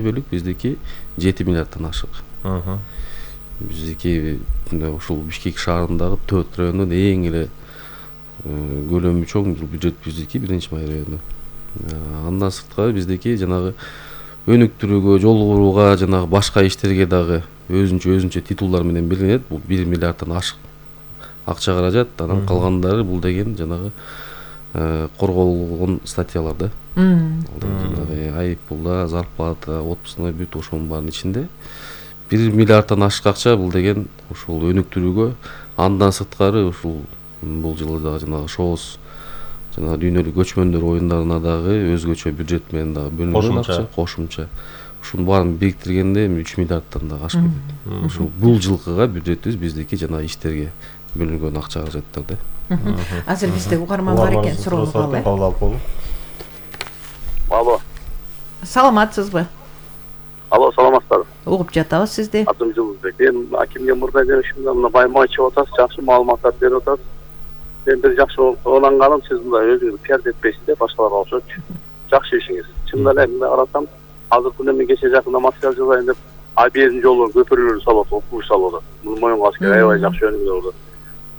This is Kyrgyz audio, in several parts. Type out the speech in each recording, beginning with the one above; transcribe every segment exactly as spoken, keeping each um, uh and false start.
бөлүк, биздики жети миллиарддан ашык. Биздики ушул Бишкек шаарындагы төрт райондун эң эле көлөмү чоң бюджет биздики биринчи май району. Андан сырткары биздики жанагы өнүктүрүүгө, жол курууга, жанагы башка иштерге дагы өзүнчө өзүнчө титулдар менен белгиленет. Бул бир миллиарддан ашык акча каражат. Анан калгандары бул деген жанагы корголгон статьялар да. Айыппулда, зарплата, отпускной бүт ошонун баарынын ичинде бир миллиарддан ашык акча бул деген ушул өнүктүрүүгө. Андан сырткары ушул бул жылы дагы жанагы шоос жана дүйнөлүк көчмөндөр оюндарына дагы өзгөчө бюджет менен дагы бөлүнгөн акча кошумча. Ушунун баарын бириктиргенде үч миллиарддан да ашып кетет. Ушул бул жылкыга бюджетибиз биздики жана иштерге бөлүнгөн акча каражаттар да. Азыр бизде угарман бар экен, суроону алалы. Алло. Саламатсызбы? Алло, саламатсызбы? Угуп жатабыз сизди. Атым Жылбек. Мен акимге мурда жөнөшүмдө мына баймачы атасыз, жакшы маалыматтар берип атасыз. Мен бир жакшы ойланганым, сиз мындай өзүңүз пиар этпейсиз да, башкаларга окшочу. Жакшы ишиңиз. Чындап эле мына карасам, азыркы күндө мен кече жакында материал жазайын деп Абердин жолу көпүрөлөрү салып атат, куш салып атат. Муну моюнга алыш керек, аябай жакшы өнүгүү болот.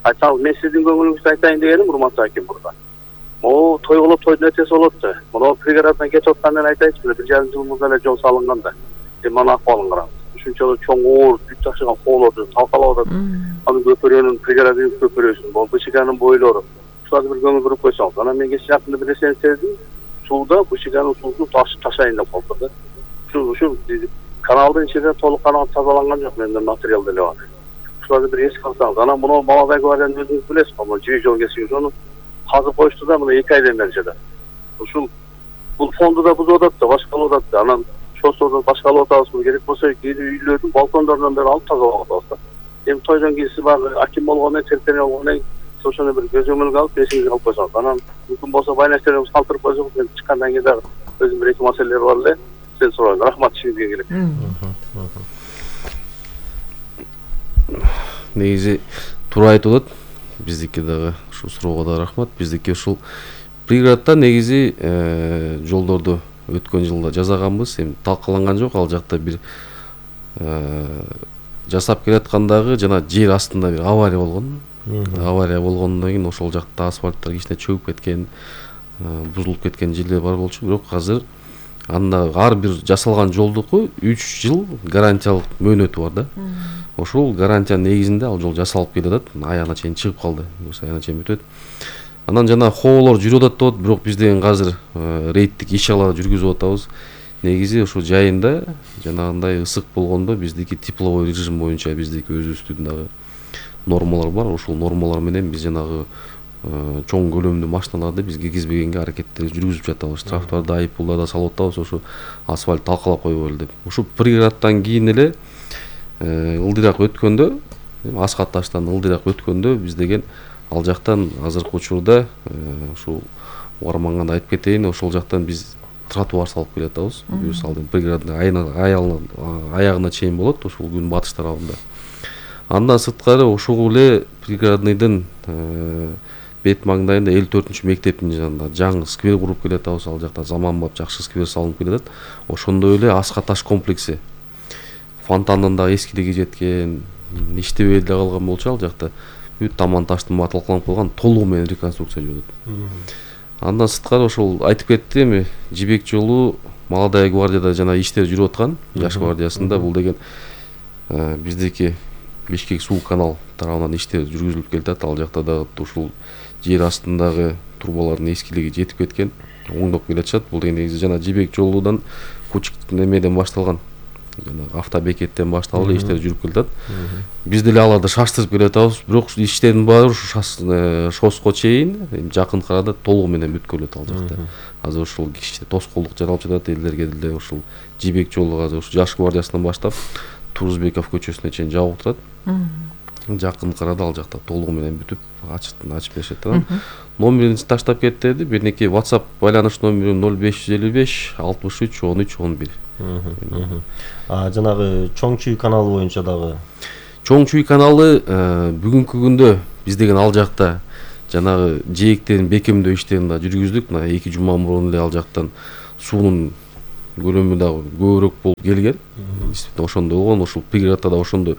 Айтсаңыз, мен сиздин көңүлүңүздү айтайын дегеним, урматтуу аким мурда. Могу той болуп, тойдун эртеси болот да. Мына пригороддон кетип аткандан айтайынчы, бир жарым жыл мурда эле жол салынган да. Сен мана акыбалын караңыз. Ушунчалык чоң оор, бүт жакшыган хоолорду талкалап атат. Анын көпүрөнүн, пригороддун көпүрөсүн, бул Бышиганын бойлору. Ушуларды бир көңүл буруп койсоңуз. Анан мен кече жакында бир нерсени сездим. Сууда Бышиганын суусун ташайын деп калды да. Ушул ушул каналдын ичинде толук канал тазаланган жок, менде материал деле бар. Ушуларды бир эске алсаңыз. Анан муну Молодой гвардиянын өзүңүз билесиз, мына жибек жол кесиги ошону казып коюшту да, мына эки айдан бери жада. Ушул бул фонду да бузуп атат да, башкалап атат да. Анан шосторду башкалап атабыз, керек болсо кээде үйлөрдүн балкондорунан бери алып тазалап атабыз да. Эми тойдон кийин сиз баягы аким болгондон кийин, серіктен болгондон кийин ошону бир көзөмөлгө алып, эсиңизге алып койсоңуз. Анан мүмкүн болсо байнаштерибиз калтырып койсоңуз, мен чыккандан кийин дагы өзүм бир эки маселелер бар эле. Сен сурайын. Рахмат, ишиңизге келет. Негизи туура айтып атат. Биздики дагы ушул суроого да рахмат. Биздики ушул пригороддо негизи жолдорду өткөн жылда жасаганбыз. Эми талкаланган жок, ал жакта бир жасап келаткандагы жана жер астында бир авария болгон. Авария болгондон кийин ошол жакта асфальттар кичине чөгүп кеткен, бузулуп кеткен жерлер бар болчу. Бирок азыр анда ар бир жасалган жолдуку үч жыл гарантиялык мөөнөтү бар да. Ошол гарантиянын негизинде ал жол жасалып келатат. Аягына чейин чыгып калды. Аягына чейин бүтөт. Анан жана хоолор жүрүп атат деп, бирок биз деген азыр рейдтик иш-чаралар жүргүзүп атабыз. Негизи ошо жайында жанагындай ысык болгондо биздики тепловой режим боюнча биздики өзүбүздүн дагы нормалар бар. Ошол нормалар менен биз жанагы чоң көлөмдүү машиналарды биз киргизбегенге аракеттер жүргүзүп жатабыз. Штрафтарды, айыппулдарды салып атабыз, ошо асфальт талкалап койбойлу деп. Ушул пригороддон кийин эле ылдыйраак өткөндө, Аскат таштан ылдыйраак өткөндө биз деген ал жактан азыркы учурда ушул угарманга да айтып кетейин, ошол жактан биз тротуар салып келе жатабыз. Биз алдын пригороддун аягына чейин болот, ушул күн батыш тарабында. Андан сырткары ошол эле пригородныйдын бет маңдайында элүү төртүнчү мектептин жанында жаңы сквер куруп келе жатабыз. Ал жакта заманбап жакшы сквер салынып келе жатат. Ошондой эле Аскат таш комплекси фонтандын да эскилиги жеткен, иштебей эле калган болчу. Ал жакта бүт таман таштын баары талкаланып калган, толугу менен реконструкция жүрүп атат. Андан сырткары ошол айтып кетти, эми жибек жолу Молодой гвардияда жана иштер жүрүп аткан, жаш гвардиясында бул деген биздики Бишкек суу канал тарабынан иштер жүргүзүлүп келатат. Ал жакта да ушул жер астындагы трубалардын эскилиги жетип кеткен, оңдоп келатышат. Бул деген негизи жана жибек жолудан Кучук немеден башталган, жана автобекеттен башталып эле иштер жүрүп келатат. Биз деле аларды шаштырып келе жатабыз, бирок иштердин баары ушу шоско чейин жакын арада толугу менен бүткөлөт ал жакта. Азыр ушул кичине тоскоолдук жаралып жатат, элдерге деле ушул жибек жолу азыр ушу жаш гвардиясынан баштап Турузбеков көчөсүнө чейин жабык турат. Жакын арада ал жакта толугу менен бүтүп ачып ачып беришет. Номерин таштап кетти, биринеки WhatsApp байланыш номери ноль беш жүз элүү беш алтымыш үч он үч он бир. А жанагы Чоң Чүй каналы боюнча дагы. Чоң Чүй каналы бүгүнкү күндө биз деген ал жакта жанагы жээктерин бекемдөө иштерин да жүргүздүк. Мына эки жума мурун эле ал жактан суунун көлөмү дагы көбүрөөк болуп келген. Действительно ошондой болгон, ушул пригороддо да ошондой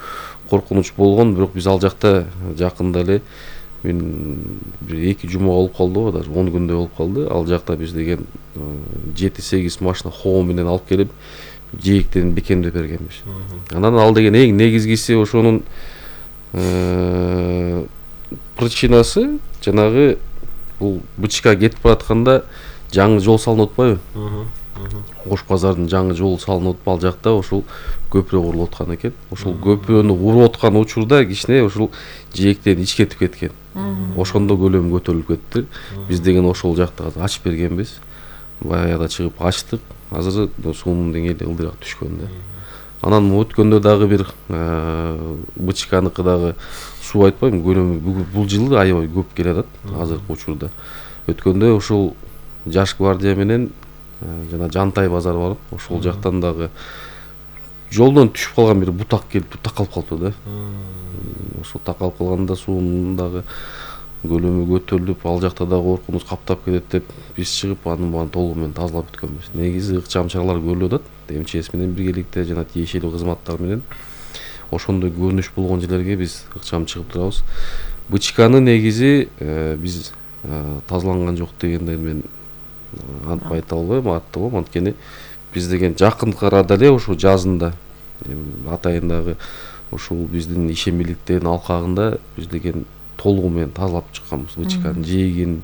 коркунуч болгон, бирок биз ал жакта жакында эле мен бир эки жума болуп калды, даже он күндөй болуп калды. Ал жакта биз деген жети сегиз машина хоо менен алып келип жээктерин бекемдеп бергенбиз. Анан ал деген эң негизгиси ошонун причинасы жанагы бул бычка кетип баратканда жаңы жол салынып атпайбы? Ош базардын жаңы жолу салынып атып, ал жакта ошол көпүрө курулуп аткан экен. Ошол көпүрөнү куруп аткан учурда кичине ошол жээктерин ичкетип кеткен. Ошондо көлөмү көтөрүлүп кетти. Биз деген ошол жакта ачып бергенбиз. Баягыда чыгып ачтык. Азыр суунун деңгээли ылдыраак түшкөн да. Анан өткөндө дагы бир бычканыкы дагы суу айтпайм, көлөмү бул жылы аябай көп келе атат азыркы учурда. Өткөндө ушул Жаш гвардия менен жана Жантай базары бар. Ошол жактан дагы жолдон түшүп калган бир бутак келип такалып калыптыр да. Ошол такалып калганда суунун дагы көлөмү көтөрүлүп, ал жакта да коркунуч каптап кетет деп биз чыгып анын баарын толугу менен тазалап бүткөнбүз. Негизи ыкчам чаралар көрүлүп атат. МЧС менен биргеликте жана тиешелүү кызматтар менен ошондой көрүнүш болгон жерлерге биз ыкчам чыгып турабыз. Бычканы негизи биз тазаланган жок дегенде мен антип айта албайм, аттап алам. Анткени биз деген жакынкы арада эле ушул жазында атайындагы ушул биздин ишембиликтердин алкагында биз деген толугу менен тазалап чыкканбыз. Бычканын жээгин,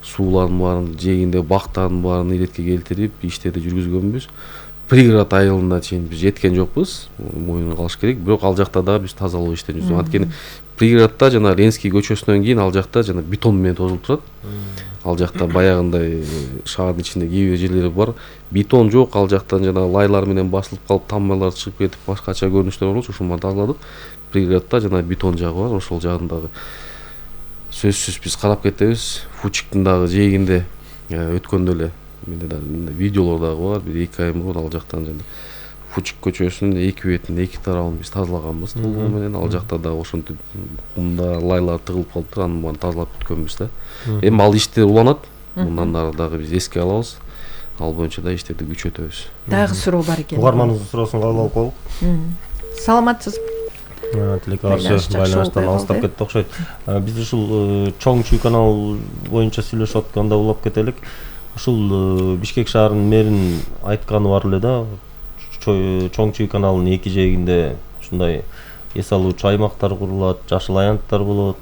суулардын баарын, жээгинде бактардын баарын иретке келтирип иштерди жүргүзгөнбүз. Пригород айылына чейин биз жеткен жокпуз, моюнга алыш керек. Бирок ал жакта да биз тазалоо иштерин жүргүзгөн. Анткени пригороддо жана Ленский көчөсүнөн кийин ал жакта жана бетон менен тозулуп турат. Ал жакта баягындай шаардын ичинде кээ бир жерлери бар. Бетон жок, ал жактан жана лайлар менен басылып калып, таммалар чыгып кетип, башкача көрүнүштөр болчу. Ошону тазаладык. Пригороддо жана бетон жагы бар, ошол жагын дагы сөзсүз биз карап кетебиз. Фучиктин дагы жээгинде өткөндө эле менде да видеолор дагы бар. Бир эки ай мурун ал жактан жана Фучик көчөсүнүн эки бетин, эки тарабын биз тазалаганбыз толугу менен. Ал жакта дагы ошентип кумда лайлар тыгылып калыптыр, анын баарын тазалап бүткөнбүз да. Эми ал иштер уланат. Мындан ары дагы биз эске алабыз. Ал боюнча да иштерди күчөтөбүз. Дагы суроо бар экен. Угармандын суроосун кабыл алып коелук. Саламатсызбы? Тилеке каршы байланыштан алыстап кетти окшойт. Биз ушул чоң чүй канал боюнча сүйлөшүп атканда улап кетелик. Ушул Бишкек шаарынын мэринин айтканы бар эле да. Чоң чүй каналынын эки жээгинде ушундай эс алуучу аймактар курулат, жашыл аянттар болот,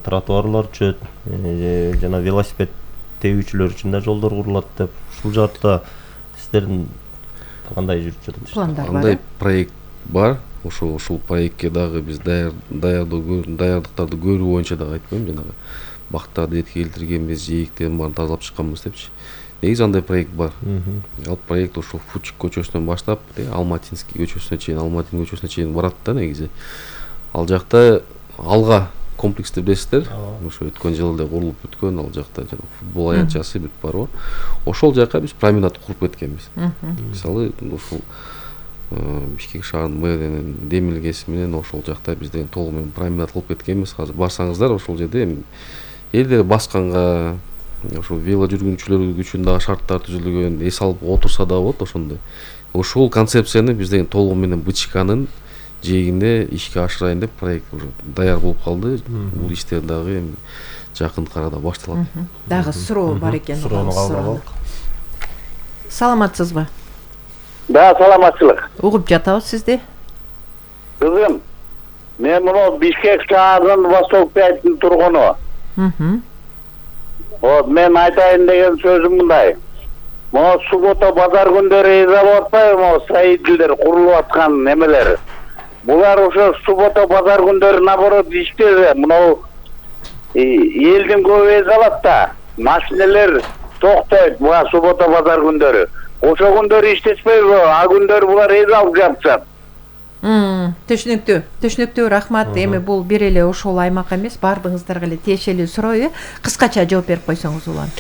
тротуарлар чөт, жана велосипед тебүүчүлөр үчүн да жолдор курулат деп. Ушул жаатта сиздердин кандай жүрүп жатат? Пландар бар. Кандай проект бар? Ошол ушул проектке дагы биз даярдоо даярдыктарды көрүү боюнча дагы айтпайм, жанагы бактарды иретке келтиргенбиз, жээктердин баарын тазалап чыкканбыз депчи. Негизи андай проект бар. Ал проект ошол Фучик көчөсүнөн баштап, Алматинский көчөсүнө чейин, Алматин көчөсүнө чейин барат да негизи. Ал жакта алга комплексти билесиздер. Ошо өткөн жылы эле курулуп бүткөн, ал жакта жана футбол аянтчасы бүт бар. Ошол жака биз променад куруп кеткенбиз. Мисалы, ушул Бишкек шаарынын мэринин демилгеси менен ошол жакта биз деген толугу менен променад кылып кеткенбиз. Азыр барсаңыздар ошол жерде элдер басканга, ошол вело жүргүнчүлөр үчүн дагы шарттар түзүлгөн, эс алып отурса да болот ошондой. Ошол концепцияны биз деген толугу менен бычканын жээгинде ишке ашырайын деп проект уже даяр болуп калды. Бул иштер дагы эми жакынкы арада башталат. Дагы суроо бар экен. Суроону кабыл алалык. Саламатсызбы? Да, саламатчылык. Угуп жатабыз сизди. Кызым, мен мына Бишкек шаарынын Восток пятин тургуну. Вот мен айтайын деген сөзүм мындай. Могу суббота базар күндөрү эзе болуп атпайбы, могу строительдер курулуп аткан немелер. Булар ошо суббота базар күндөрү наоборот иштебе. Мына элдин көбү эзе алат да. Машиналер токтойт буга суббота базар күндөрү. Ошо күндөрү иштешпейби, а күндөрү булар эзе алып жатышат. Түшүнүктүү. Түшүнүктүү, рахмат. Эми бул бир эле ошол аймак эмес, баардыгыңыздарга эле тиешелүү суроо. Кыскача жооп берип койсоңуз улам.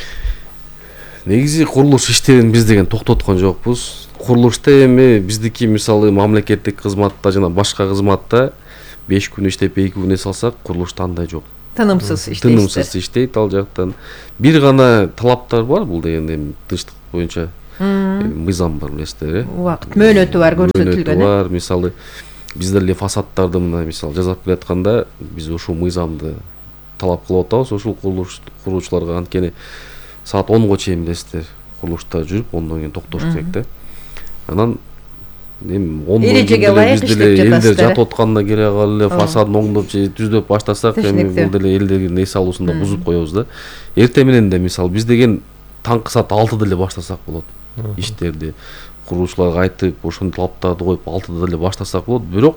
Негизи курулуш иштерин биз деген токтоткон жокпуз. Курулушта эми биздики мисалы мамлекеттик кызматта жана башка кызматта беш күн иштеп эки күн эс алсак, курулушта андай жок. Тынымсыз иштейт. Тынымсыз иштейт ал жактан. Бир гана талаптар бар, бул деген эми тынчтык боюнча мыйзам бар билесиздер э. Убакыт мөөнөтү бар, көрсөтүлгөн. Мөөнөтү бар. Мисалы биздер эле фасадтарды мына мисалы жасап келатканда биз ушул мыйзамды талап кылып атабыз ушул курулуш куруучуларга. Анткени саат онго чейин билесиздер курулушта жүрүп, ондон кийин токтош керек да. Анан эми ондон кийин биз деле элдер жатып атканда келе калып эле фасадын оңдоп же түздөп баштасак, эми бул деле элдердин эс алуусун да бузуп коебуз да. Эртең менен да мисалы биз деген таңкы саат алтыда эле баштасак болот иштерди. Куруучуларга айтып, ошону талаптарды коюп алтыда эле баштасак болот. Бирок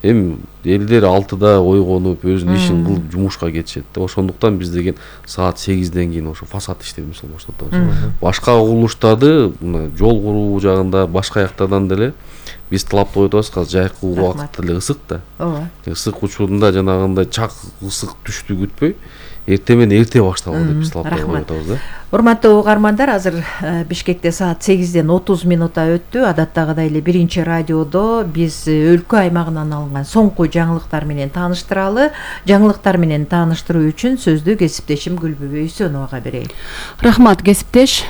эми элдер алтыда ойгонуп, өзүнүн ишин кылып жумушка кетишет да. Ошондуктан биз деген саат сегизден кийин ошо фасад иштерин мисалы баштатабыз. Башка курулуштарды мына жол куруу жагында башка жактардан деле биз талап коюп атабыз. Азыр жайкы убакыт деле ысык да. Ооба. Ысык учурунда жанагындай чак ысык түштү күтпөй, эртең менен эрте башталган деп биз талап коюп атабыз да. Урматтуу угармандар, азыр Бишкекте саат сегизден отуз минутта өттү. Адаттагыдай эле биринчи радиодо биз өлкө аймагынан алынган соңку жаңылыктар менен тааныштыралы. Жаңылыктар менен тааныштыруу үчүн сөздү кесиптешим Гүлбүбө Үсөновага берейин. Рахмат, кесиптеш.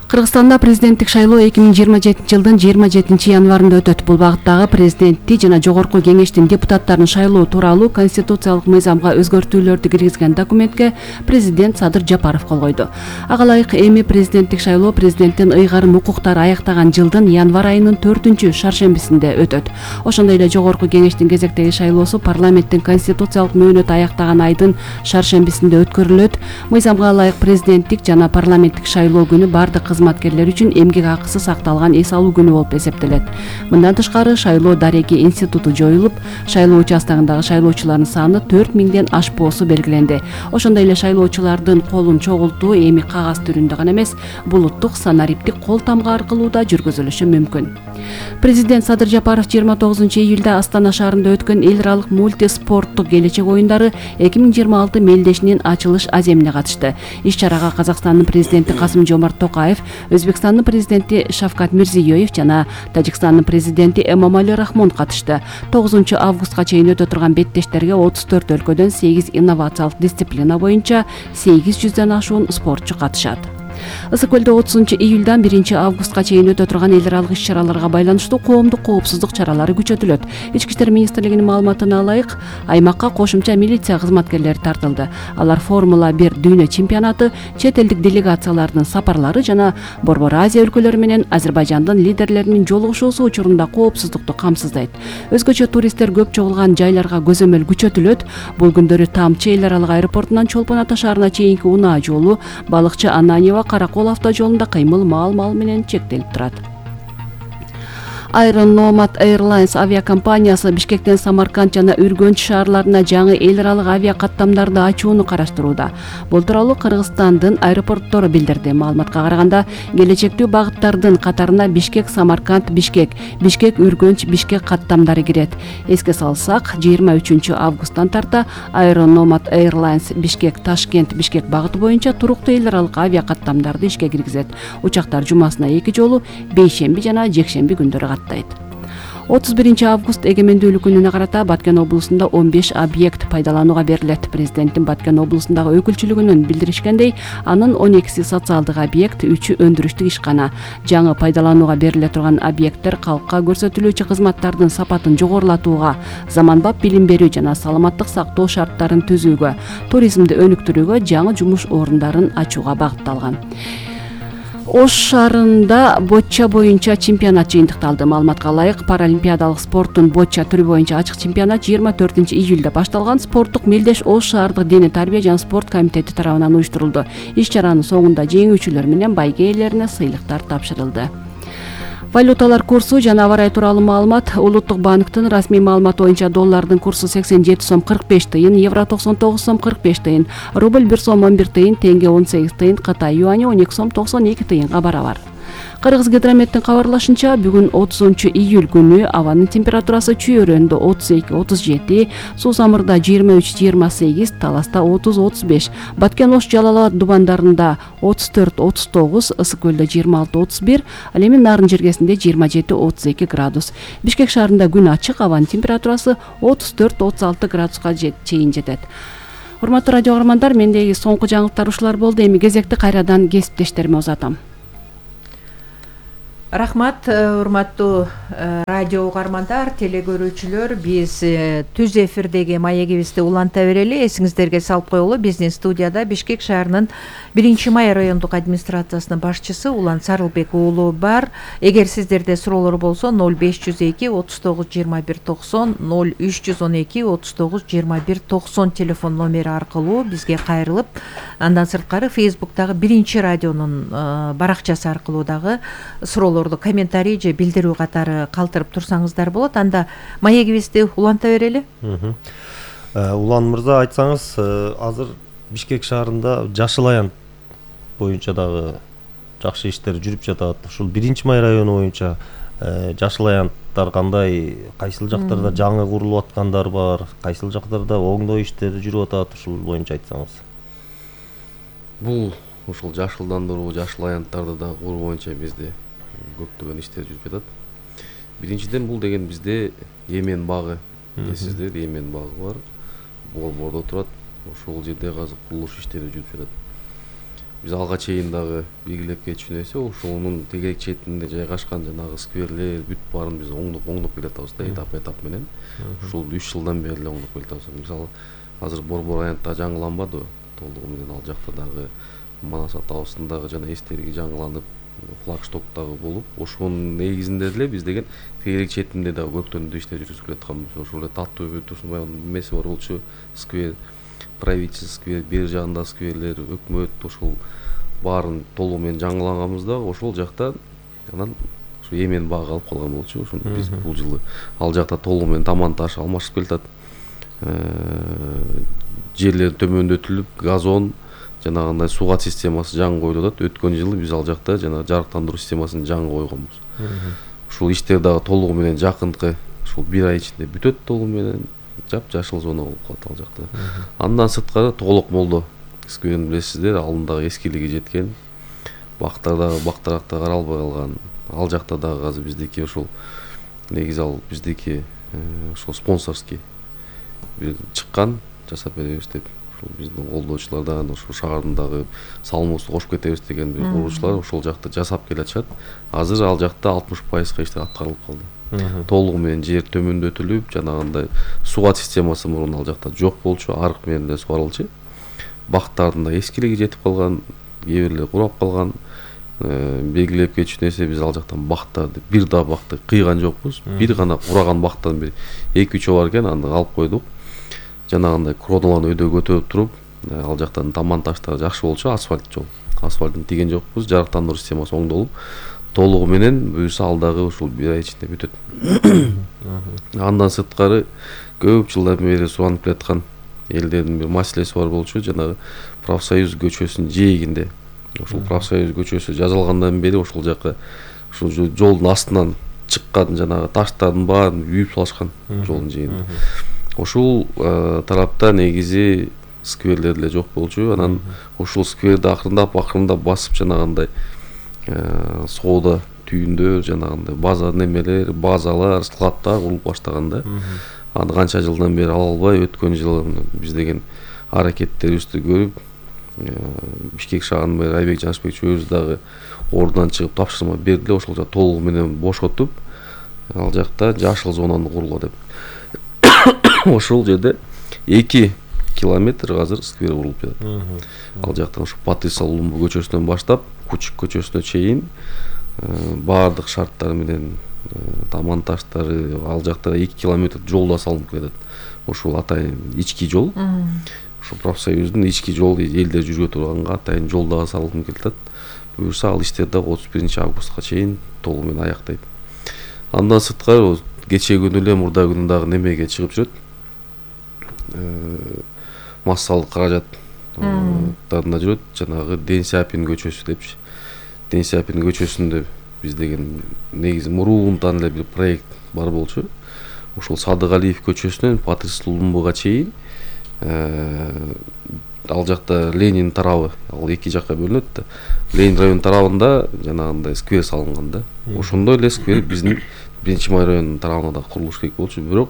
Кыргызстанда президенттик шайлоо эки миң жыйырма жетинчи жылдын жыйырма жетинчи январында өтөт. Бул багыттагы президентти жана жогорку кеңештин депутаттарын шайлоо тууралуу конституциялык мыйзамга өзгөртүүлөрдү киргизген документке президент Садыр Жапаров кол койду. Ага ылайык эми президенттик шайлоо президенттин ыйгарым укуктары аяктаган жылдын январь айынын төртүнчү шаршембисинде өтөт. Ошондой эле жогорку кеңештин кезектеги шайлоосу парламенттин конституциялык мөөнөтү аяктаган айдын шаршембисинде өткөрүлөт. Мыйзамга ылайык президенттик жана парламенттик шайлоо күнү бардык кызматкерлер үчүн эмгек акысы сакталган эс алуу күнү болуп эсептелет. Мындан тышкары шайлоо дареги институту жоюлуп, шайлоо участогундагы шайлоочулардын саны төрт миңден ашпоосу белгиленди. Ошондой эле шайлоочулардын колун чогултуу эми кагаз түрүндө гана эмес, булуттук санариптик кол тамга аркылуу да жүргүзүлүшү мүмкүн. Президент Садыр Жапаров жыйырма тогузунчу июлда Астана шаарында өткөн эл аралык мультиспорттук келечек оюндары эки миң жыйырма алты мелдешинин ачылыш аземине катышты. Иш-чарага Казакстандын президенти Касым-Жомарт Токаев, Өзбекстандын президенти Шавкат Мирзиёев жана Тажикстандын президенти Эмомали Рахмон катышты. тогузунчу августка чейин өтө турган беттештерге отуз төрт өлкөдөн сегиз инновациялык дисциплина боюнча сегиз жүздөн ашуун спортчу катышат. Ысык көлдө отузунчу июлдан биринчи августка чейин өтө турган эл аралык иш-чараларга байланыштуу коомдук коопсуздук чаралары күчөтүлөт. Ички иштер министрлигинин маалыматына ылайык, аймакка кошумча милиция кызматкерлери тартылды. Алар Формула бир дүйнө чемпионаты, чет элдик делегациялардын сапарлары жана Борбор Азия өлкөлөрү менен Азербайжандын лидерлеринин жолугушуусу учурунда коопсуздукту камсыздайт. Өзгөчө туристтер көп чогулган жайларга көзөмөл күчөтүлөт. Бул күндөрү Тамчы эл аралык аэропортунан Чолпон Ата шаарына чейинки унаа жолу, Балыкчы Ананьева Каракол автожолунда кыймыл мал-мал менен чектелип турат. Аэрономат Airlines авиакомпаниясы Бишкектен Самарканд жана Үргөнч шаарларына жаңы эл аралык авиа каттамдарды ачууну караштырууда. Бул тууралуу Кыргызстандын аэропорттору билдирди. Маалыматка караганда, келечектүү багыттардын катарына Бишкек, Самарканд, Бишкек, Бишкек, Үргөнч, Бишкек каттамдары кирет. Эске салсак, жыйырма үчүнчү августтан тарта Aeronomат Airlines Бишкек, Ташкент, Бишкек багыты боюнча туруктуу эл аралык авиа каттамдарды ишке киргизет. Учактар жумасына эки жолу бейшемби жана жекшемби күндөрү отуз биринчи август эгемендүүлүк күнүнө карата Баткен облусунда он беш объект пайдаланууга берилет. Президенттин Баткен облусундагы өкүлчүлүгүнүн билдиришкендей, анын он экиси социалдык объект, үчү өндүрүштүк ишкана. Жаңы пайдаланууга бериле турган объекттер калкка көрсөтүлүүчү кызматтардын сапатын жогорулатууга, заманбап билим берүү жана саламаттык сактоо шарттарын түзүүгө, туризмди өнүктүрүүгө, жаңы жумуш орундарын ачууга багытталган. Ош шаарында бочча боюнча чемпионат жыйынтыкталды. Маалыматка ылайык, паралимпиадалык спорттун бочча түрү боюнча ачык чемпионат жыйырма төртүнчү июлда башталган. Спорттук мелдеш Ош шаардык дене тарбия жана спорт комитети тарабынан уюштурулду. Иш-чаранын соңунда жеңүүчүлөр менен байге ээлерине сыйлыктар тапшырылды. Валюталар курсу жана аба ырайы тууралуу маалымат. Улуттук банктын расмий маалыматы боюнча доллардын курсу сексен жети сом кырк беш тыйын, евро токсон тогуз сом кырк беш тыйын, рубль бир сом он бир тыйын, тенге он сегиз тыйын, Кытай юани он эки сом токсон эки тыйынга барабар. Кыргыз гидрометтин кабарлашынча, бүгүн отузунчу июль күнү абанын температурасы Чүй өрөөнүндө отуз эки отуз жети, Суу Самырда жыйырма үч жыйырма сегиз, Таласта отуз отуз беш, Баткен, Ош, Жалал Абад дубандарында отуз төрт отуз тогуз, Ысык көлдө жыйырма алты отуз бир, ал эми Нарын жергесинде жыйырма жети отуз эки градус. Бишкек шаарында күн ачык, абанын температурасы отуз төрт отуз алты градуска чейин жетет. Урматтуу радио каармандар, мендеги соңку жаңылыктар ушулар болду. Эми кезекти кайрадан кесиптештериме узатам. Рахмат, урматтуу радио угармандар, телекөрүүчүлөр. Биз түз эфирдеги маегибизди уланта берели. Эсиңиздерге салып коелу, биздин студияда Бишкек шаарынын биринчи май райондук администрациясынын башчысы Улан Сарылбек уулу бар. Эгер сиздерде суроолор болсо ноль беш жүз эки отуз тогуз жыйырма бир токсон, ноль үч жүз он эки отуз тогуз жыйырма бир токсон телефон номери аркылуу бизге кайрылып, андан сырткары Фейсбуктагы биринчи радионун баракчасы аркылуу дагы суроолор комментарий же билдирүү катары калтырып турсаңыздар болот. Анда маегибизди уланта берели. Улан мырза, айтсаңыз, азыр Бишкек шаарында жашыл аянт боюнча дагы жакшы иштер жүрүп жатат. Ушул биринчи май району боюнча жашыл аянттар кандай, кайсыл жактарда жаңы курулуп аткандар бар, кайсыл жактарда оңдоо иштери жүрүп атат, ушул боюнча айтсаңыз. Бул ушул жашылдандыруу, жашыл аянттарды да куруу боюнча бизде көптөгөн иштер жүрүп жатат. Биринчиден бул деген бизде Эмен багы, эсиздер Эмен багы бар. Борбордо турат. Ошол жерде азыр курулуш иштери жүрүп жатат. Биз алга чейин дагы белгилеп кетчү нерсе, ошонун тегерек четинде жайгашкан жанагы скверлер бүт баарын биз оңдоп оңдоп келатабыз да, этап этап менен. Ушул үч жылдан бери эле оңдоп келатабыз. Мисалы, азыр Борбор аянтта жаңыланбады, толугу менен ал жакта дагы Манас атабыздагы жана эстелиги жаңыланып, флагштоктагы болуп, ошонун негизинде эле биз деген тегерек четинде дагы көптөн иштер жүргүзүлүп атканбыз. Ошол эле Таттуу Турсунбай эмеси бар болчу, сквер, правительство сквер, бери жагында скверлер, өкмөт, ошол баарын толугу менен жаңыланганбыз да, ошол жакта анан ушу Эмен багы алып калган болчу. Ошону биз бул жылы ал жакта толугу менен таман таш алмашып келатат. Жерлер төмөндөтүлүп, газон, жанагындай сугат системасы жаңы коюлуп атат. Өткөн жылы биз ал жакта жана жарыктандыруу системасын жаңы койгонбуз. Ушул иштер дагы толугу менен жакынкы ушул бир ай ичинде бүтөт, толугу менен жап-жашыл зона болуп калат ал жакта. Андан сырткары Толок молдо скверин билесиздер, алын дагы эскилиги жеткен. Бактар дагы бактаракта каралбай калган. Ал жакта дагы азыр биздики ошол негизи ал биздики ошол спонсорский бир чыккан, жасап беребиз деп. Биздин колдоочулардан ошо шаардын дагы салымыбызды кошуп кетебиз деген бир курулуучулар ошол жакта жасап келатышат. Азыр ал жакта алтымыш пайызга иштер аткарылып калды. Толугу менен жер төмөндөтүлүп, жанагындай сугат системасы мурун ал жакта жок болчу, арык менен эле сугарылчу. Бактардын да эскилиги жетип калган, кээ бирлери курап калган. Белгилеп кетчү нерсе, биз ал жактан бактарды, бир да бакты кыйган жокпуз. Бир гана кураган бактан бир эки үчөө бар экен, аны алып койдук. Жанагындай кроналарды өйдө көтөрүп туруп, ал жактан таман таштар жакшы болчу, асфальт жол. Асфальтын тиген жокпуз, жарыктандыруу системасы оңдолуп, толугу менен буюрса ал дагы ушул бир ай ичинде бүтөт. Андан сырткары көп жылдан бери суранып келаткан элдердин бир маселеси бар болчу, жанагы Профсоюз көчөсүнүн жээгинде. Ошол Профсоюз көчөсү жазылгандан бери ошол жака ушул жолдун астынан чыккан жанагы таштардын баарын үйүп салышкан жолдун жээгинде. Ошол тарапта негизи скверлер эле жок болчу. Анан ошол скверди акырындап акырындап басып жанагындай соода түйүндөр, жанагындай база немелер, базалар, складтар курулуп баштаганда, аны канча жылдан бери ала албай, өткөн жылы биз деген аракеттерибизди көрүп, Бишкек шаарынын мэрі Айбек Жанышбекович өзү дагы ордунан чыгып тапшырма берди, ошол жакта толугу менен бошотуп, ал жакта жашыл зонаны курула деп. Ошол жерде эки километр азыр сквер курулуп жатат. Ал жактан ушу Патриса Лумбу көчөсүнөн баштап Кучук көчөсүнө чейин баардык шарттар менен таман таштары, ал жакта эки километр жол да салынып кетет. Ошол атайын ички жол. Ошо профсоюздун ички жолу элдер жүрө турганга атайын жол дагы салынып кетет. Буюрса ал иштер дагы отуз биринчи августка чейин толугу менен аяктайт. Андан сырткары кечээ күнү эле мурда күнү дагы немеге чыгып жүрөт. Массалык каражаттарына жүрөт, жанагы Ден Сяпин көчөсү депчи. Ден Сяпин көчөсүндө биз деген негизи мурунтан эле бир проект бар болчу. Ошол Садыгалиев көчөсүнөн Патрис Лумбуга чейин ал жакта Ленин тарабы, ал эки жакка бөлүнөт да. Ленин район тарабында жанагындай сквер салынган да. Ошондой эле сквер биздин биринчи май районунун тарабына да курулуш керек болчу, бирок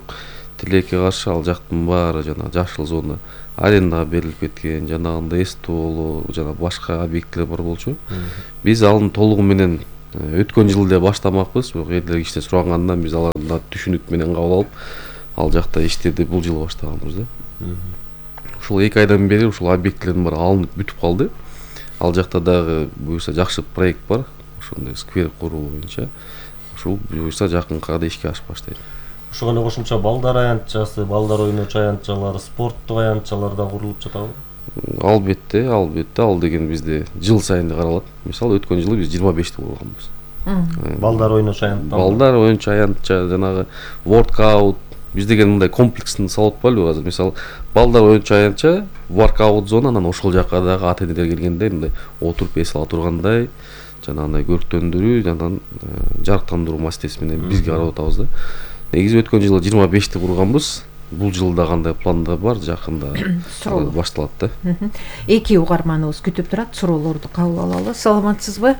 тилекке каршы ал жактын баары жана жашыл зона арендага берилип кеткен, жанагындай эстоло жана башка объекттер бар болчу. Биз аны толугу менен өткөн жылы эле баштамакпыз, бирок элдер кичине сурагандан биз алардан түшүнүк менен кабыл алып, ал жакта иштерди бул жылы баштаганбыз да. Ушул эки айдан бери ушул объектилердин баары алынып бүтүп калды. Ал жакта дагы буюрса жакшы проект бар, ошондой сквер куруу боюнча. Ушул буюрса жакынкы арада ишке ашып баштайт. Ошого эле кошумча балдар аянтчасы, балдар ойночу аянтчалары, спорттук аянтчалар да курулуп жатабы? Албетте, албетте, ал деген бизде жыл сайын каралат. Мисалы өткөн жылы биз жыйырма бешти курганбыз. Балдар ойночу аянтча. Балдар ойночу аянтча, жанагы воркаут, биз деген мындай комплекстин салып атпайлыбы азыр. Мисалы, балдар ойночу аянтча, воркаут зона, анан ошол жакка дагы ата-энелер келгенде мындай отуруп эс ала тургандай, жанагындай көрктөндүрүү, анан жарыктандыруу маселеси менен бизге карап атабыз да. Негизи өткөн жылы жыйырма бешти курганбыз. Бул жылда кандай планда бар, жакында башталат да. Эки угарманыбыз күтүп турат, суроолорду кабыл алалы. Саламатсызбы?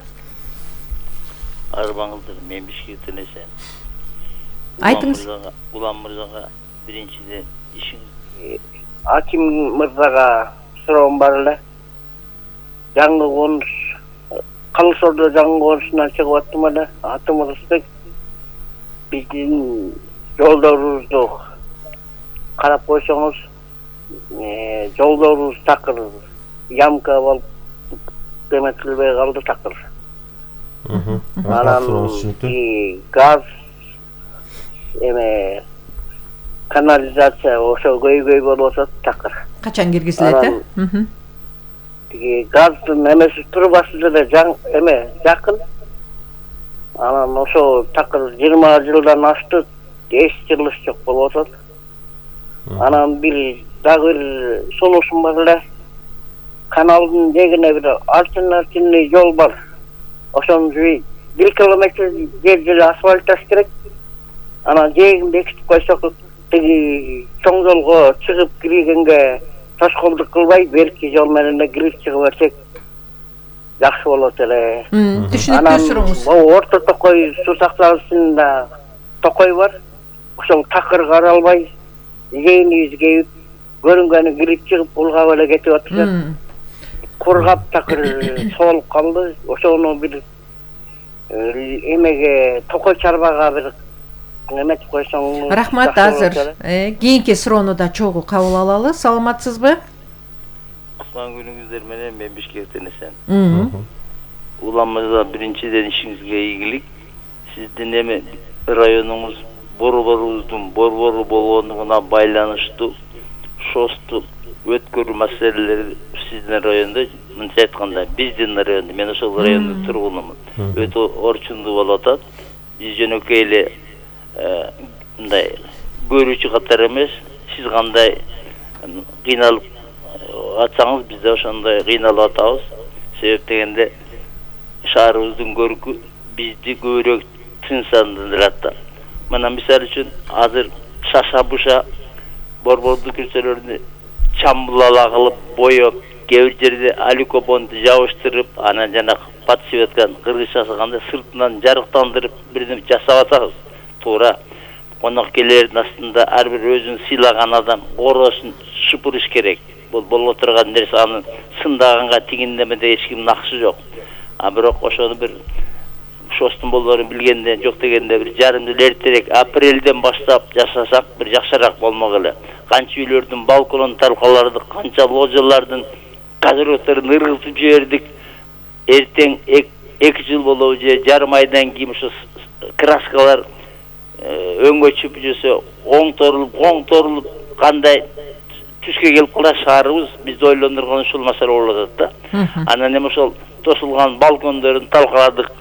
Арбаңыздар, мен Бишкектен эсен. Айтыңыз. Улам мырзага биринчиден ишиңиз. Аким мырзага суроом бар эле. Жаңы конуш, Калысордо жаңы конушунан чыгып аттым эле. Атым Рысбек. Биздин жолдорубузду карап койсоңуз, жолдорубуз такыр ямка болуп эметилбей калды такыр. Анан газ эме канализация ошо көйгөй болуп атат такыр. Качан киргизилет э? Тиги газдын эмеси трубасы деле жаң эме жакын. Анан ошо такыр жыйырма жылдан ашты, эч жылыш жок болуп атат. Анан бир дагы бир сунушум бар эле. Каналдын жээгине бир альтернативный жол бар. Ошону бир километр жер жер асфальтташ керек. Анан жээгин бекитип койсок, тиги чоң жолго чыгып киргенге тошколдук кылбай, берки жол менен эле кирип чыгып берсек жакшы болот эле. Түшүнүктүү суроңуз. Могу орто токой суу сактагычында токой бар. Ошол такыр каралбай, жээнибиз кеип, көрүнгөнү кирип чыгып улгап эле кетип атышат. Кургап такыр соолуп калды. Ошону бир эмеге токой чарбага бир эметип койсоң. Рахмат, азыр кийинки суроону да чогуу кабыл алалы. Саламатсызбы? Кутман күнүңүздөр менен, мен Бишкектен эсен. Улам мырза, биринчиден ишиңизге ийгилик. Сиздин эме районуңуз борборубуздун борбору болгондугуна байланыштуу шосту өткөрүү маселелери сиздин райондо, мынча айтканда, биздин райондо, мен ошол райондун тургунумун. Өтө орчундуу болуп атат. Биз жөнөкөй эле мындай көрүүчү катары эмес, сиз кандай кыйналып атсаңыз, биз да ошондой кыйналып атабыз. Себеп дегенде шаарыбыздын көркү бизди көбүрөөк тынчсандырат да. Мына мисалы үчүн азыр шаша-буша борбордук көчөлөрдү чамбулала кылып, боёп, кээ бир жерде алюкобонду жабыштырып, анан жана подсветканы кыргызча салганда сыртынан жарыктандырып бирдеме жасап атабыз. Туура. Конок келердин астында ар бир өзүн сыйлаган адам ороосун шупурыш керек. Бул боло турган нерсе, аны сындаганга тигиндемеде эч кимдин акысы жок. А бирок ошону бир шостун болоорун билгенде, жок дегенде бир жарым жыл эртерээк апрелден баштап жасасак бир жакшыраак болмок эле. Канча үйлөрдүн балконун талкалардык, канча ложалардын козырокторун ыргызып жибердик. Эртең эки жыл болобу же жарым айдан кийин ошо краскалар өңгө чүп жүрсө, оңторулуп, оңторулуп, кандай түскө келип калат шаарыбыз, бизди ойлондурган ушул маселе болуп атат да. Анан эми ошол тосулган балкондорун талкаладык,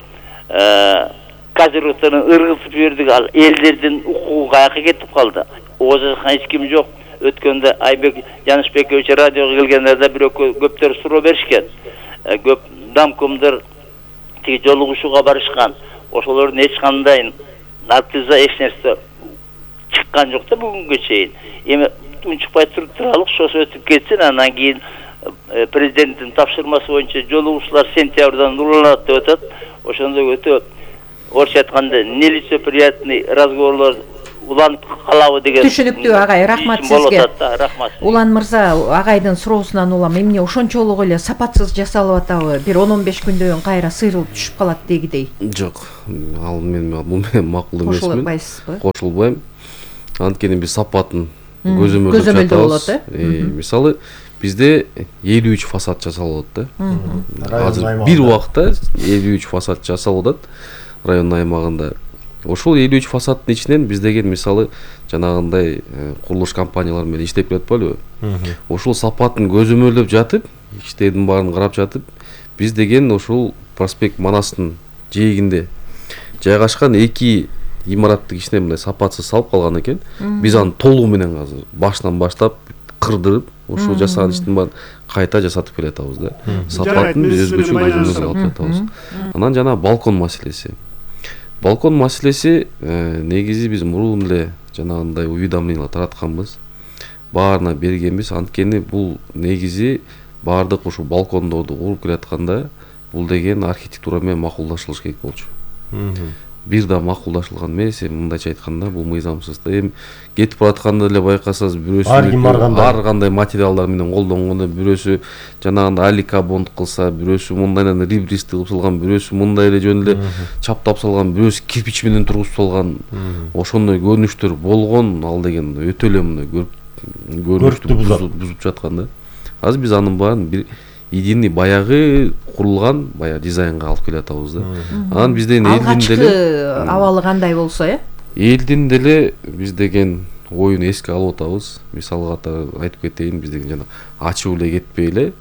козырокторун ыргызып жибердик, ал элдердин укугу каяка кетип калды. Озакка эч ким жок. Өткөндө Айбек Жанышбекович радиого келгендерде бирок көптөр суроо беришкен. Көп дамкомдор тиги жолугушууга барышкан. Ошолордун эч кандай натыйжа эч нерсе чыккан жок да бүгүнгө чейин. Эми унчукпай туруп туралык, ошо өтүп кетсин, анан кийин президенттин тапшырмасы боюнча жолугушуулар сентябрдан уланат деп атат. Ошондо өтө орусча айтканда нелицеприятный разговорлор улантып калабы деген. Түшүнүктүү агай, рахмат сизге. Рахмат. Улан мырза, агайдын суроосунан улам эмне ошончолук эле сапатсыз жасалып атабы? Бир он он беш күндөн кийин кайра сыйрылып түшүп калат дегидей. Жок, ал мен бул менен макул эмесмин. Кошулбайсызбы? Кошулбайм. Анткени биз сапатын көзөмөлдөп болот, э? Мисалы, бизде элүү үч фасад жасалып атат да. Азыр бир убакта элүү үч фасад жасалып атат район аймагында. Ошол элүү үч фасаддын ичинен биз деген мисалы жанагындай курулуш компаниялары менен иштеп жатпайбы? Ошол сапатын көзөмөлдөп жатып, иштердин баарын карап жатып, биз деген ошол проспект Манастын жээгинде жайгашкан эки имараттык ичине мындай сапатсыз салып калган экен. Биз аны толугу менен азыр башынан баштап кырдырып, ошол жасаган иштин баарын кайта жасатып келатабыз да. Сапатын биз өзгөчө көзөмөлгө алып жатабыз. Анан жана балкон маселеси. Балкон маселеси негизи биз мурун эле жанагындай уведомление таратканбыз. Баарына бергенбиз. Анткени бул негизи баардык ушул балкондорду куруп келатканда бул деген архитектура менен макулдашылыш керек болчу. Бир да макулдашылган эмес, мындайча айтканда бул мыйзамсыз. Эми кетип баратканда эле байкасаңыз бирөөсү ар кандай материалдар менен колдонгону, бирөөсү жанагындай аликабонд кылса, бирөөсү мындайдан рибрист кылып салган, бирөөсү мындай эле жөн эле чаптап салган, бирөөсү кирпич менен тургузуп салган. Ошондой көрүнүштөр болгон, ал деген өтө эле мындай көрүнүштү бузуп жаткан да. Азыр биз анын баарын бир идини баягы курулган баягы дизайнга алып келатабыз да. Анан бизден элдин деле абалы кандай болсо, э? Элдин деле биз деген оюн эске алып атабыз. Мисалы катары айтып кетейин, биз деген жана ачып эле кетпей эле.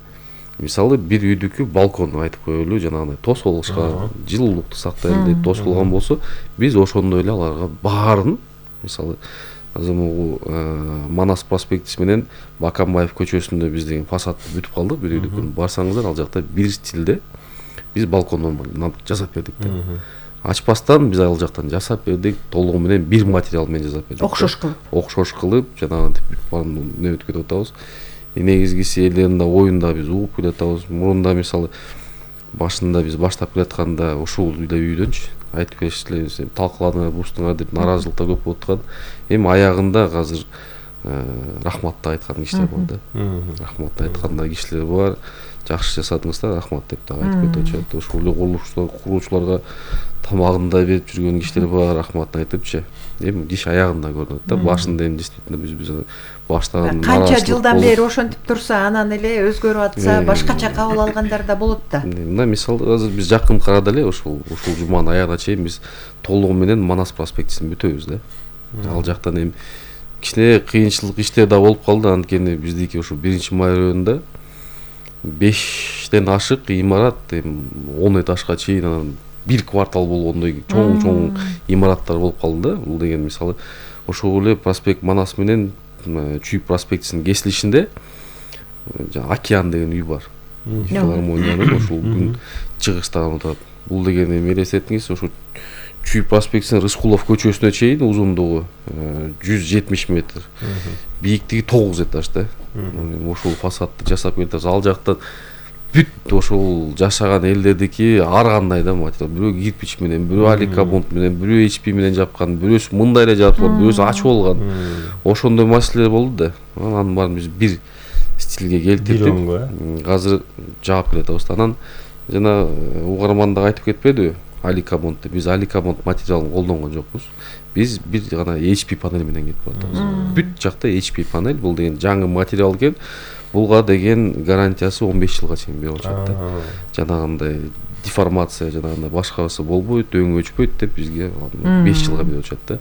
Мисалы бир үйдүкү балкон айтып коелу, жанагындай тосолгучка жылуулукту сактайлы деп тосулган болсо, биз ошондой эле аларга баарын, мисалы азыр могу Манас проспектиси менен Бакамбаев көчөсүндө биз деген фасадты бүтүп калдык. Бир үйдүкүн барсаңыздар, ал жакта бир стилде биз балкондон жасап бердик да. Ачпастан биз ал жактан жасап бердик, толугу менен бир материал менен жасап бердик. Окшош кылып. Окшош кылып, жанагынтип бүтүп баарын нөбөт кетип атабыз. Негизгиси элдердин да оюнда биз угуп келатабыз. Мурунда мисалы башында биз баштап келатканда ушул эле үйдөнчү айтып беришчилер, талкууланыңар, бустуңар деп нааразылыктар көп болуп аткан. Эми аягында азыр рахматты айткан кишилер бар да. Рахматты айтканда кишилер бар. Жакшы жасадыңыздар, рахмат деп да айтып кетип атышат. Ошол эле курулуштар, куруучуларга тамагын да берип жүргөн кишилер бар, рахматын айтыпчы. Эми иш аягында көрүнөт да. Башында эми действительно биз биз баштаган канча жылдан бери ошентип турса, анан эле өзгөрүп атса, башкача кабыл алгандар да болот да. Мына мисалы азыр биз жакын карада эле ушул ушул жуманын аягына чейин биз толугу менен Манас проспектисин бүтөбүз да. Ал жактан эми кичине кыйынчылык иштер да болуп калды, анткени биздики ушул биринчи май районунда бештен ашык имарат, эми он этажга чейин анан бир квартал болгондой чоң-чоң имараттар болуп калды да. Бул деген мисалы ошол эле проспект Манас менен Чүй проспектисинин кесилишинде Океан деген үй бар. Филармониянын ошол күн чыгыштаган отурат. Бул деген эми элестетиңиз, ошол Чүй проспектисинин Рыскулов көчөсүнө чейин узундугу жүз жетимиш метр, бийиктиги тогуз этаж да. Ошол фасадты жасап келатабыз. Ал жактан бүт ошол жашаган элдердики ар кандай да материал, бирөө кирпич менен, бирөө аликабонд менен, бирөө эйч пи менен жапкан, бирөөсү мындай эле жапкан, бирөөсү ачып болгон. Ошондой маселелер болду да. Анан баарын биз бир стилге келтирдик. Азыр жаап келатабыз. Анан жана угарман да айтып кетпедиби? Аликабонд деп. Биз аликабонд материалын колдонгон жокпуз. Биз бир гана эйч пи панель менен кетип атабыз. Бүт жакта эйч пи панель, бул деген жаңы материал экен. Булга деген гарантиясы он беш жылга чейин берип атышат да. Жанагындай деформация, жанагындай башкасы болбойт, өң өчпөйт деп бизге беш жылга берип атышат да.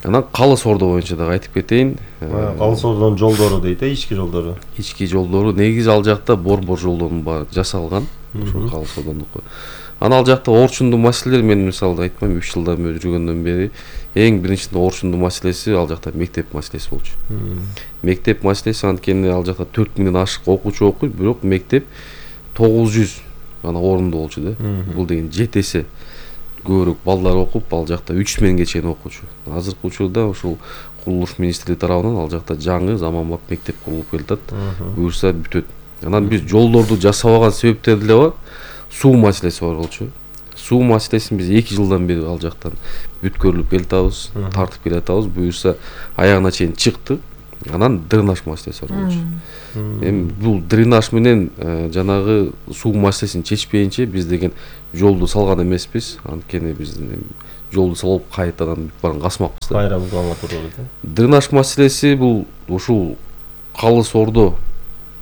Анан Калыс Ордо боюнча дагы айтып кетейин. Калыс Ордонун жолдору дейт, ички жолдору. Ички жолдору негизи ал жакта борбор жолдордун баары жасалган. Ошол Калыс Ордонуку. Анан ал жакта орчундуу маселелер, мен мисалы айтпайм, үч жылдан бери жүргөндөн бери эң биринчиден орчундуу маселеси ал жакта мектеп маселеси болчу. Мектеп маселеси, анткени ал жакта төрт миңден ашык окуучу окуйт, бирок мектеп тогуз жүз гана орунду болчу да. Бул деген жети эсе көбүрөөк балдар окуп, ал жакта үч миңге чейин окуучу. Азыркы учурда ошол курулуш министрлиги тарабынан ал жакта жаңы заманбап мектеп курулуп келатат. Буюрса бүтөт. Анан биз жолдорду жасабаган себептер деле бар. Суу маселеси бар болчу. суу маселесин биз эки жылдан бери ал жактан бүткөрүлүп келатабыз, тартып келатабыз. Буюрса аягына чейин чыктык. Анан дренаж маселеси бар болчу. Эми бул дренаж менен жанагы суу маселесин чечпейинче биз деген жолду салган эмеспиз. Анткени биз жолду салып кайтадан барын касмакпыз. Кайра булганга туура келет. Дренаж маселеси бул ушул Калыс Ордо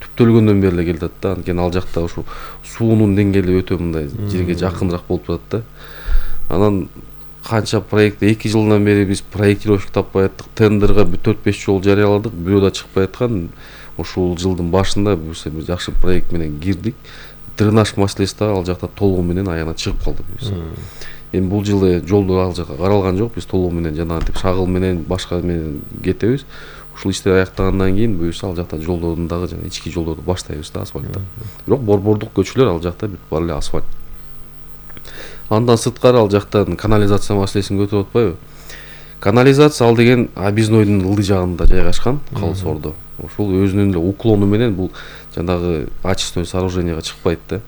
түптөлгөндөн бери эле келатат да. Анткени ал жакта ушул суунун деңгээли өтө мындай жерге жакыныраак болуп турат да. Анан канча проект эки жылдан бери биз проектировщик таппай аттык, тендерге төрт беш жол жарыяладык, бирөө да чыкпай аткан. Ушул жылдын башында буюрса бир жакшы проект менен кирдик. Дренаж маселеси да ал жакта толугу менен аягына чыгып калды буюрса. Эми бул жылы жолдор ал жакка каралган жок, биз толугу менен жанагынтип шагыл менен башка менен кетебиз. Ушул иштер аяктагандан кийин буюрса ал жакта жолдордун дагы жана ички жолдорду баштайбыз да асфальттап. Бирок борбордук көчөлөр ал жакта бүт баары эле асфальт. Андан сырткары ал жактан канализация маселесин көтөрүп атпайбы? Канализация ал деген объезднойдун ылдый жагында жайгашкан, Калыс Ордо. Ошол өзүнүн эле уклону менен бул жанагы очистной сооруженияга чыкпайт да.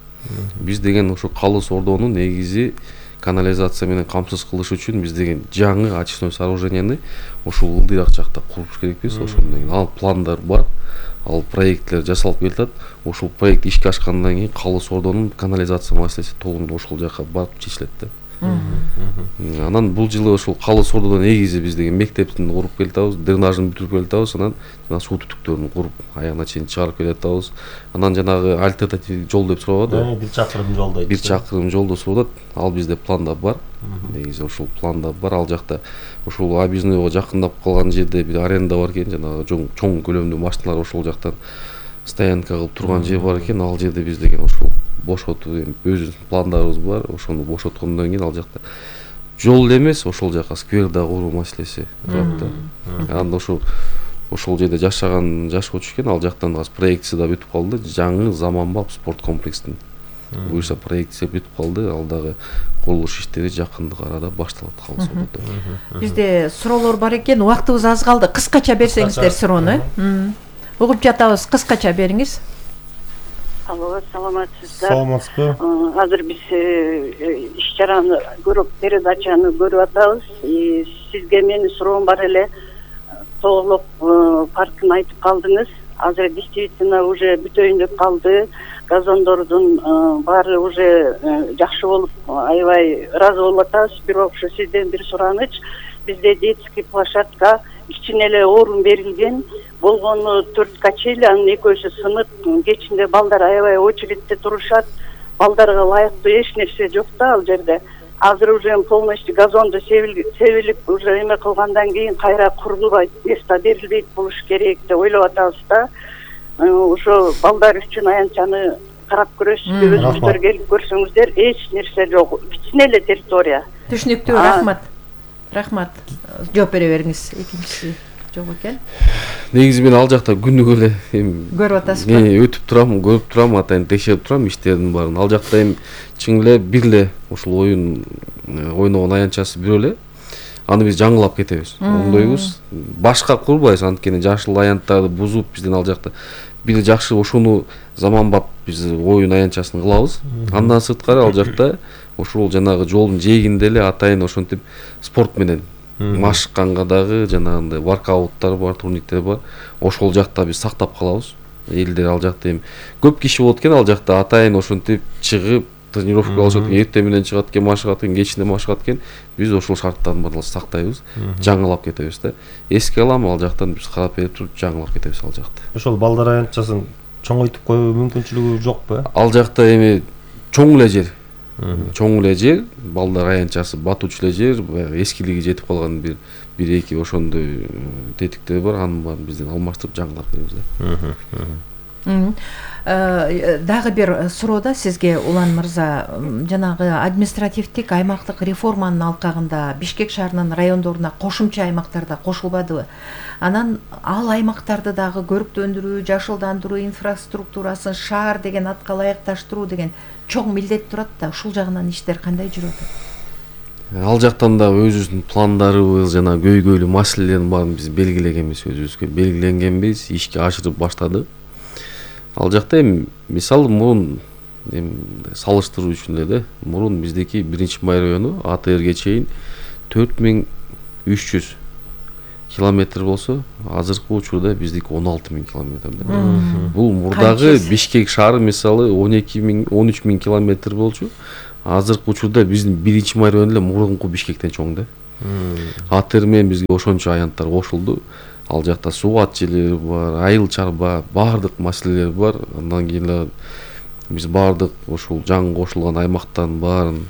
Биз деген ошо Калыс Ордону негизи канализация менен камсыз кылыш үчүн биз деген жаңы очистной сооруженияны ушул ылдыйраак жакта куруш керекпиз. Ошондон кийин ал пландар бар, ал проекттер жасалып келатат. Ошол проект ишке ашкандан кийин Калыс Ордонун канализация маселеси толугу ошол жака барып чечилет да. Анан бул жылы ошол Калыс Ордодон негизи биз деген мектептин куруп келатабыз, дренажын бүтүрүп келатабыз, анан жана суу түтүктөрүн куруп аягына чейин чыгарып келатабыз. Анан жанагы альтернативдик жол деп сурабады. бир чакырым жолдо. бир чакырым жолду сурап атат. Ал бизде планда бар. Негизи ошол планда бар. Ал жакта ошол объезднойго жакындап калган жерде бир аренда бар экен, жанагы чоң көлөмдүү машиналар ошол жактан стоянка кылып турган жер бар экен. Ал жерде биз деген ошол бошотуп эми өзүбүздүн пландарыбыз бар. Ошону бошоткондон кийин ал жакта жол эле эмес, ошол жака сквер да куруу маселеси турат да. Анда ошол ошол жерде жашаган жашоочу экен, ал жактан азыр проектиси да бүтүп калды. Жаңы заманбап спорт комплекстин буюрса проектиси бүтүп калды. Ал дагы курулуш иштери жакындык арада башталат Калыс Ордодо. Бизде суроолор бар экен, убактыбыз аз калды. Кыскача берсеңиздер суроону. Угуп жатабыз, кыскача бериңиз. Алло, саламатсыздар. Саламатсызбы? Азыр биз иш чараны көрүп, передачаны көрүп атабыз. Сизге менин суроом бар эле. Тоолок паркын айтып калдыңыз. Азыр действительно уже бүтөйүн деп калды. Газондордун баары уже жакшы болуп, аябай ыраазы болуп атабыз. Бирок ушу сизден бир сураныч. Бизде детский площадка кичине эле орун берилген. Болгону төрт качели, анын экөөсү сынып, кечинде балдар аябай очередте турушат. Балдарга ылайыктуу эч нерсе жок да ал жерде. Азыр уже полностью газонду себилип, уже эме кылгандан кийин кайра курулбайт, место берилбейт болуш керек деп ойлоп атабыз да. Ошо балдар үчүн аянтчаны карап көрөсүзбү, өзүңүздөр келип көрсөңүздөр, эч нерсе жок. Кичине эле территория. Түшүнүктүү, рахмат. Рахмат. Жооп бере бериңиз. Экинчиси жок экен. Негизи мен ал жакта күнүгө эле эми көрүп атасызбы? Мен өтүп турам, көрүп турам, атайын текшерип турам иштердин баарын. Ал жакта эми чын эле бир эле ушул оюн ойногон аянтчасы бирөө эле. Аны биз жаңылап кетебиз. Оңдойбуз. Башка курбайбыз, анткени жашыл аянттарды бузуп бизден ал жакта бир жакшы ошону заманбап биз оюн аянтчасын кылабыз. Андан сырткары ал жакта ошол жанагы жолдун жээгинде эле атайын ошентип спорт менен машыкканга дагы жанагындай воркауттар бар, турниктер бар. Ошол жакта биз сактап калабыз. Элдер ал жакта эми көп киши болот экен, ал жакта атайын ошентип чыгып тренировка кылышат экен, эртең менен чыгат экен, машыгат экен, кечинде машыгат экен. Биз ошол шарттардын баарын сактайбыз, жаңылап кетебиз да. Эске алам, ал жактан биз карап берип туруп жаңылап кетебиз ал жакта. Ошол балдар аянтчасын чоңойтуп коюу мүмкүнчүлүгү жокпу? Ал жакта эми чоң эле жер. Чоң эле жер, балдар аянтчасы батуучу эле жер, баягы эскилиги жетип калган бир бир эки ошондой тетиктер бар, анын баарын бизден алмаштырып жаңылап беребиз да. Дагы бир суроода сизге Улан мырза, жанагы административдик аймактык реформанын алкагында Бишкек шаарынын райондоруна кошумча аймактарда кошулбадыбы? Анан ал аймактарды дагы көрүктөндүрүү, жашылдандыруу инфраструктурасын шаар деген атка ылайыкташтыруу деген чоң милдет турат да, ушул жагынан иштер кандай жүрүп атат? Ал жактан да өзүбүздүн пландарыбыз жана көйгөйлүү маселелердин баарын биз белгилегенбиз, өзүбүзгө белгиленгенбиз, ишке ашырып баштадык. Ал жакта эми мисалы мурун эми салыштыруу үчүн эле да, мурун биздики биринчи май району А Т Рге чейин төрт миң үч жүз километр болсо, азыркы учурда биздики он алты миң километр да. Бул мурдагы Бишкек шаары мисалы он эки миң он үч миң километр болчу. Азыркы учурда биздин биринчи май району эле мурунку Бишкектен чоң да. А Т Р менен бизге ошончо аянттар кошулду. Ал жакта суу желери бар, айыл чарба, баардык маселелер бар. Андан кийин эле биз баардык ушул жаңы кошулган аймактардын баарын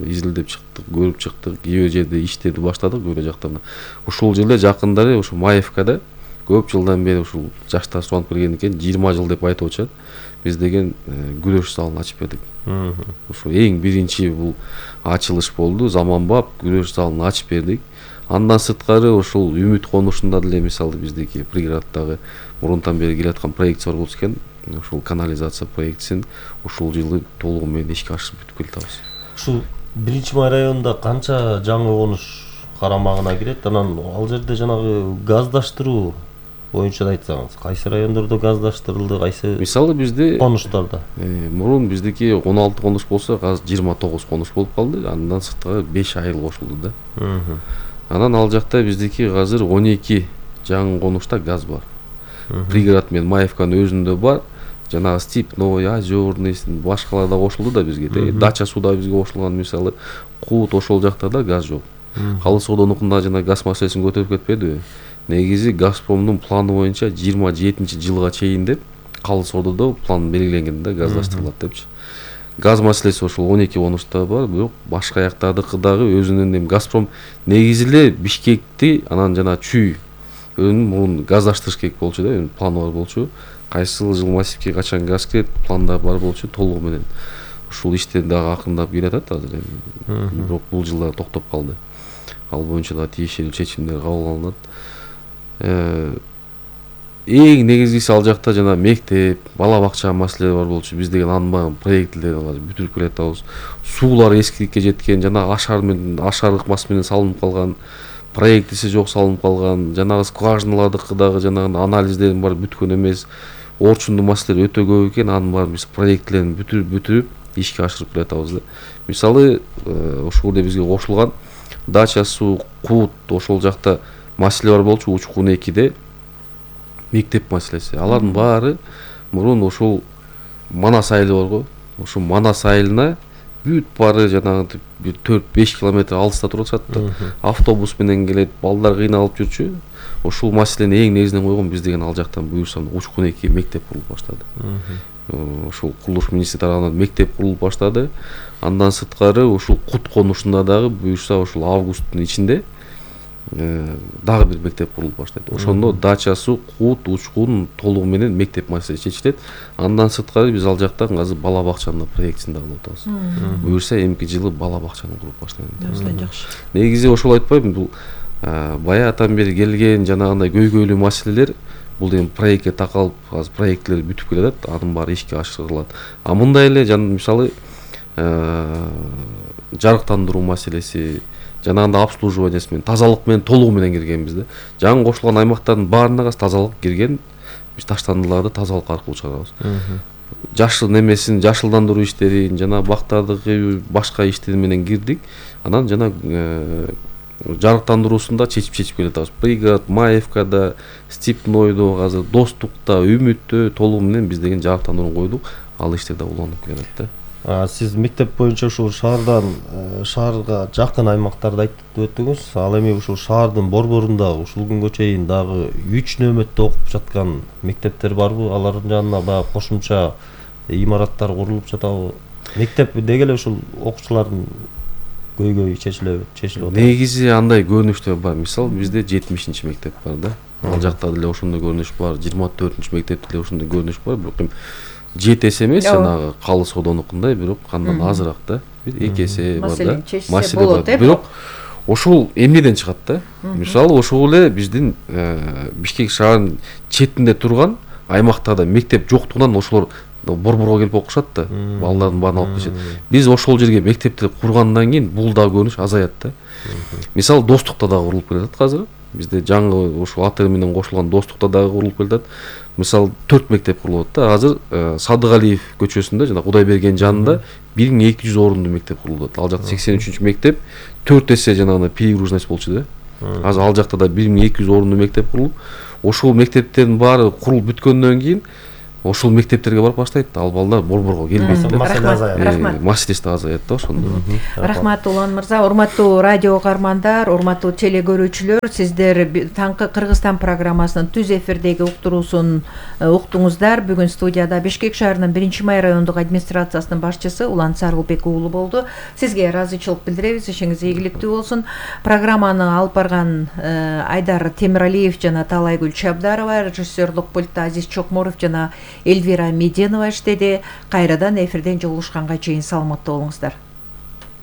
изилдеп чыктык, көрүп чыктык. Кээ бир жерде иштерди баштадык, кээ бир жактан. Ушул жерде жакындары ушу Маевкада көп жылдан бери ушул жаштар сунуп келген экен, жыйырма жыл деп айтып атышат. Биз деген күрөш залын ачып бердик. Ушул эң биринчи бул ачылыш болду. Заманбап күрөш залын ачып бердик. Андан сырткары ушул Үмүт конушунда деле мисалы биздики приграддагы мурунтан бери келаткан проект бар болчу экен. Ушул канализация проектисин ушул жылы толугу менен ишке ашырып бүтүп келатабыз. Ушул биринчи май районунда канча жаңы конуш карамагына кирет? Анан ал жерде жанагы газдаштыруу боюнча да айтсаңыз, кайсы райондордо газдаштырылды, кайсы мисалы бизде конуштарда? Мурун биздики он алты конуш болсо, азыр жыйырма тогуз конуш болуп калды. Андан сырткары беш айыл кошулду да. Анан ал жакта биздики азыр он эки жаңы конушта газ бар. Пригород менен Маевканын өзүндө бар. Жанагы Степной, Озерный, башкалар да кошулду да бизге. Дача суда бизге кошулган, мисалы Кут ошол жакта да газ жок. Калы Содонукунда жана газ маселесин көтөрүп кетпедиби? Негизи Газпромдун планы боюнча жыйырма жетинчи жылга чейин деп Калы Сододо план белгиленген да, газдаштырылат депчи. Газ маселеси ошол он эки конушта бар, бирок башка жактардыкы дагы өзүнүн эми Газпром негизи эле Бишкекти анан жана Чүй мурун газдаштырыш керек болчу да, планы бар болчу. Кайсыл жыл массивке качан газ кирет, планда бар болчу толугу менен. Ушул иштер дагы акырындап келатат азыр эми. Бирок бул жылда токтоп калды. Ал боюнча да тиешелүү чечимдер кабыл алынат. Эң негизгиси ал жакта жана мектеп, бала бакча маселеси бар болчу. Биз деген анын проектлерди бүтүрүп келатабыз. Суулар эскиликке жеткен, жана ашар менен ашар ыкмасы менен салынып калган, проектиси жок салынып калган, жанагы скважиналардыкы дагы жанагы анализдердин баары бүткөн эмес. Орчундуу маселелер өтө көп экен, анын баарын биз проектлерин бүтүрүп бүтүрүп ишке ашырып келатабыз да. Мисалы ошол жерде бизге кошулган Дача суу, Кут ошол жакта маселе бар болчу, Учкун экиде мектеп маселеси. Алардын баары мурун ошол Манас айылы барго. Ошол Манас айылына бүт баары жанагы бир төрт беш километр алыста турат да. Автобус менен келет, балдар кыйналып жүрчү. Ошол маселени эң негизинен койгон биз деген ал жактан буюрсам Учкун эки мектеп курулуп баштады. Ошол курулуш министри тарабынан мектеп курулуп баштады. Андан сырткары ушул Кут конушунда дагы буюрса ошол августтун ичинде дагы бир мектеп курулуп баштайт. Ошондо Дачасы, Кут, Учкун толугу менен мектеп маселеси чечилет. Андан сырткары биз ал жактан азыр бала бакчанын проектисин да кылып атабыз. Буюрса эмки жылы бала бакчаны куруп баштайбыз. Жакшы. Негизи ошол айтпайбы, бул баягытан бери келген жанагындай көйгөйлүү маселелер бул эми проектке такалып, азыр проекттер бүтүп келатат, анын баары ишке ашырылат. А мындай эле жана мисалы жарыктандыруу маселеси, жанагындай обслуживаниясы менен, тазалык менен толугу менен киргенбиз да. Жаңы кошулган аймактардын баарына газ тазалык кирген, биз таштандыларды тазалык аркылуу чыгарабыз. Жашыл немесин, жашылдандыруу иштерин, жана бактардагы башка иштер менен кирдик. Анан жана жарыктандыруусунда чечип чечип келатабыз. Пригород, Маевкада, Степнойдо, азыр Достукта, Үмүттө толугу менен биз деген жарыктандырууну койдук. Ал иштер да уланып келет да. Сиз мектеп боюнча ушул шаардан шаарга жакын аймактарды айтып өттүңүз. Ал эми ушул шаардын борборунда ушул күнгө чейин дагы үч нөмөттө окуп жаткан мектептер барбы? Алардын жанына баягы кошумча имараттар курулуп жатабы? Мектеп деги эле ушул окуучулардын көйгөйү чечилеби? Чечилип атат. Негизи андай көрүнүштөр бар. Мисалы бизде жетимишинчи мектеп бар да. Ал жакта деле ошондой көрүнүш бар. жыйырма төртүнчү мектепте деле ошондой көрүнүш бар. Бирок жети эсе эмес, жанагы Калы Содонукундай, бирок андан азыраак да. Бир эки эсе бар да. Маселе болот, бирок ошол эмнеден чыгат да? Мисалы ошол эле биздин Бишкек шаарынын четинде турган аймактарда мектеп жоктугунан ошолор борборго келип окушат да. Балдардын баарын алып кетишет. Биз ошол жерге мектепти кургандан кийин бул да көрүнүш азаят да. Мисалы Достукта да курулуп келатат азыр. бизде жаңы ушул АТ менен кошулган достукта дагы курулуп келатат. Мисалы төрт мектеп курулуп атат да. Азыр Садыгалиев көчөсүндө жана Кудайберген жанында бир миң эки жүз орунду мектеп курулуп атат. Ал жакта сексен үчүнчү мектеп төрт эсе жанагы перегруженность болчу да. Азыр ал жакта да бир миң эки жүз орунду мектеп курулуп, ошол мектептердин баары курулуп бүткөндөн кийин ошол мектептерге барып баштайт. Ал балдар борборго келбейт. Рахмат. Маселеси да азаят да ошондо. Рахмат Улан мырза, урматтуу радио угармандар, урматтуу теле көрүүчүлөр, сиздер таңкы Кыргызстан программасынын түз эфирдеги уктуруусун уктуңуздар. Бүгүн студияда Бишкек шаарынын биринчи май райондук администрациясынын башчысы Улан Сарылбек уулу болду. Сизге ыраазычылык билдиребиз, ишиңиз ийгиликтүү болсун. Программаны алып барган Айдар Темиралиев жана Талайгүл Чабдарова, режиссерлук пультта Азиз Чокморов жана Эльвира Меденова иштеди. Кайрадан эфирден жолугушканга чейин саламатта болуңуздар.